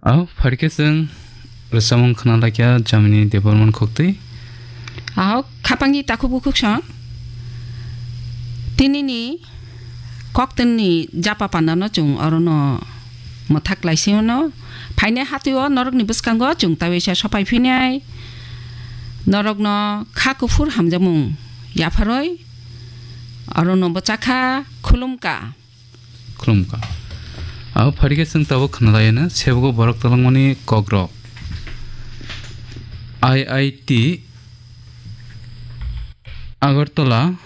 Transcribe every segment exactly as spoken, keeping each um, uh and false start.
Aw, pharikhe chwng rwchapmung khna laikha Jamini Debbarman Khoktwi. Aw, khapangni takhuk bukhuk song. Tinini koktwini japa pandano chwng orono mwthak laisingno. Phainai hatwio norokni bwskango chwng tawi sa sopai phinai. Norokno kha kuphur hamjakmung yapharwi orono bwchakha, khulumkha. Khulumkha. Abo pharikhe chwng tabuk khwnalaiyano sebogo borok twlangmani kokrok. I I T Agartala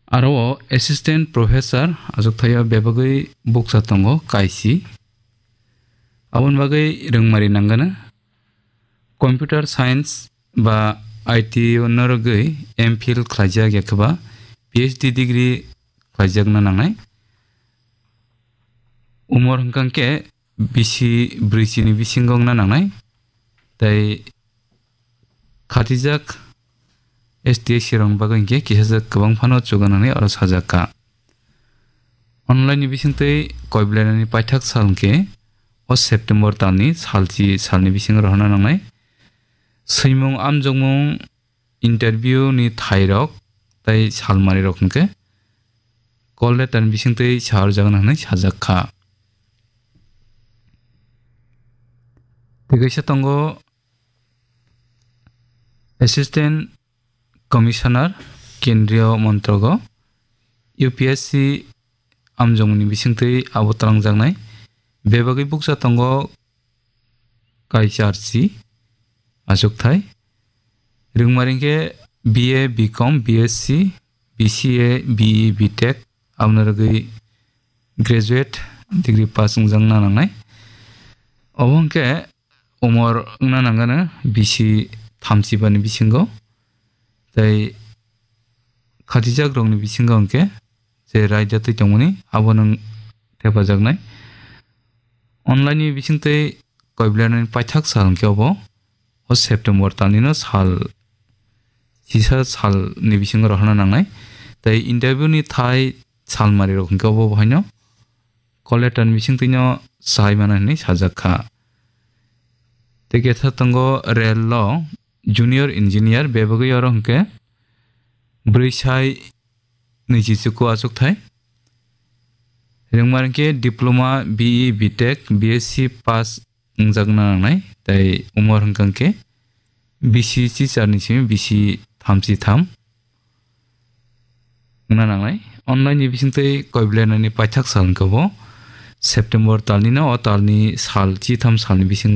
aro o Assistant Professor achukthai o bebagwi bukcha tongo kaisi. Aboni bagwi rwngmari nangano. Computer Science ba I T o norogwi M Phil khlaijak ya khe ba P H D degree khlaijakna nangnai. Umor hwnkha khe bisi brwichini bisingo wngna nangnai. Tei khatijak S T S C rokni bagwi hinkhe kisa kwbang phano chuganani oro sajak kha. Online ni bisingtwi koi belainani paithak sal hinkhe o September talni salchi salni bisingo rohorna nangnai. Swimung amjokmung interview ni thairok tei salmarirok hinkhe call letter ni bisingtwi saharjakna hwnwi sajak kha. Tei kaisa tongo Assistant Commissioner Kendriya Montrogo U P S C amjokmungni bisingtwi abo twlangjaknai. Bebagwi bukcha tongo kaisa arsi achukthai. Rwngmari hinkhe B A, B Com, B S C, B C A, B E, B Tech, aboni rwgwi graduate degree pass wngjakna nangnai. Obo hinkhe umor wngna nangano bisi thamchi bani bisingo. Tei khatijak rokni bisingo hinkhe je raida twi tongmani abo nwng thepajaknai. Online ni bisingtwi koi belainani paithak sal hinkhe obo o September talnino sal chisa salni bisingo rohorna nangnai. Tei interview ni thai salmarirok hinkhe obo bohaino call letter ni bisingtwino sai mano hinwi sajak kha. Tei ketha tongo rail o junior engineer bebagwi oro hinkhe brwi sai nwichi chuku achukthai. Rwngmar hinkhe diploma, B E, B Tech, B S C pass wngjakna nangnai, tei umor hwnkha hinkhe bisi chicharni simi bisi thamchi tham wngna nangnai. Online ni bisingtwi koi belainani paithak sal hinkhe bo September talnino o talni sal chitham salni bising